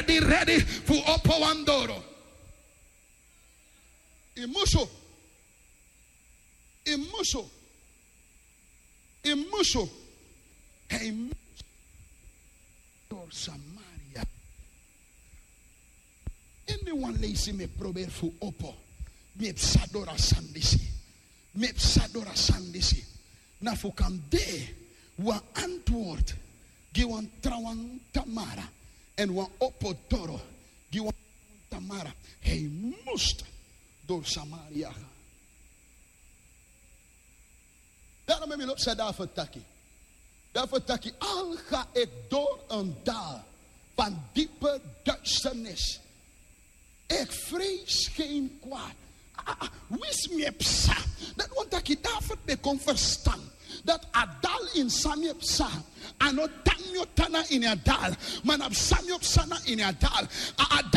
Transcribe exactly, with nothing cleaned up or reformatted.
Di redi fu opo wan doro. Imusu. Imusu. Imusu. Hei musu. Doro samaria. Ini wan leisi mi e proberi fu opo. Mi e psa doro a sani disi. Mi e psa doro a sani disi. Na fu kan de wan antword gi wan trawan tamara èn wan opo doro gi wan tamara. Hei must doro samaria. Daro mi mi lobi san david taki. David taki alga ik door en dal van diepe duisternis. Ik vrees geen kwaad. Wisi mi e psa. Dati wani taki david ben kon ferstan dati a dal ini san mi e psa. A no tan mi o tan na ini a dal. Ma na psa mi o psa na ini a dal. A